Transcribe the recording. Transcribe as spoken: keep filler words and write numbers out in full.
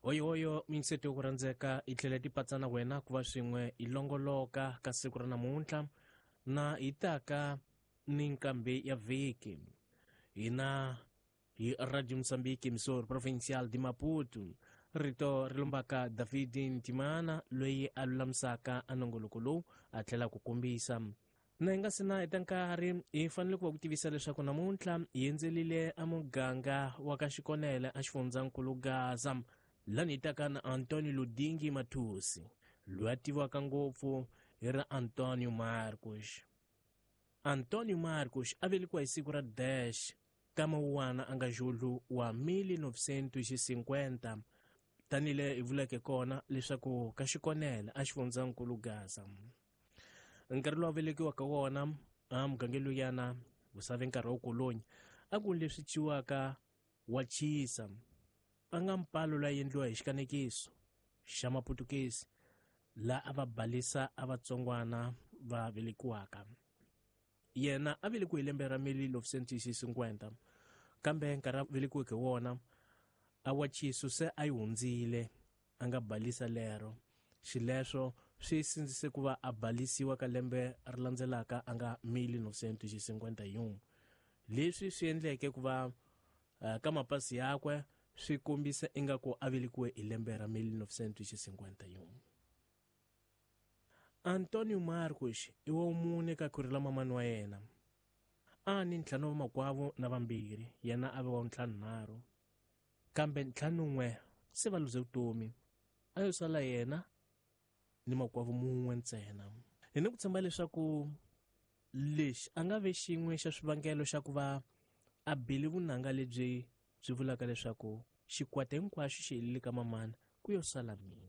Hoyohoyo minseto ku rhandzeka hi tlhela tipatsa na wena ku va swin'we hi longoloka ka siku ra namuntlha na hi taka ni nkambi ya vhiki hina hi Radio Mozambique emissora provincial de Maputo. Rito ri lombaka David Ntimana loyi a lulamisaka a nongoloko lowu a tlhela ku kombisa. Na hi nga si na heta nkarhi hi fanele ku va ku tivisa leswaku namuntlha hi endzelile a muganga wa ka Xikonele a xifundzankulu Gaza, lani hi taka na Antonio Ludingi Matusi loyi a tiviwaka ngopfu hi ra Antonio Marcos. Antonio Marcos a velekiwa hi siku ra dash ka Mawuwana a nga Julho wa mil novecentos cinquenta, tanihile hi vuleke kona leswaku ka Xikonele a xifundzankulu Gaza. Nkarhi lowu a velekiwaka wona a mugangeni luyana wu save nkarhi wa kolonyi a ku leswi ciwaka wa chisa a nga mpalo loyi endliwa hi xikanekiso xa maputukezi la a va balisa a vatsongwana va velekiwaka. Yena a velekiwe hi lembe ra mil novecentos cinquenta, kambe nkarhi a velekiweke wona a wa chiso se a yi hundzile a nga balisa lero. Xileswo swi sindzise ku va a balisiwa ka lembe ri landzelaka a nga mil novecentos cinquenta e um. Leswi swi endleke ku va uh, ka mapasi yakwe swi kombisa ingaku a velekiwe hi lembe ra mil novecentos cinquenta e um. Antonio Marcos i wa mune ka khwiri la mamani wa yena. A ni ntlhanu wa makwavo na vambirhi, yena a ve wa ntlhanunharhu. Kambe ntlhanun'we se va luze vutomi, a yo sala yena ni makwavo mun'we ntsena. Hi ni ku tshemba leswaku lexi a nga ve xin'we xa swivangelo xa ku va a bile vunanga lebyi byi vulaka leswaku xikwata hinkwaxo xi helile ka mamana ku yo sala mina.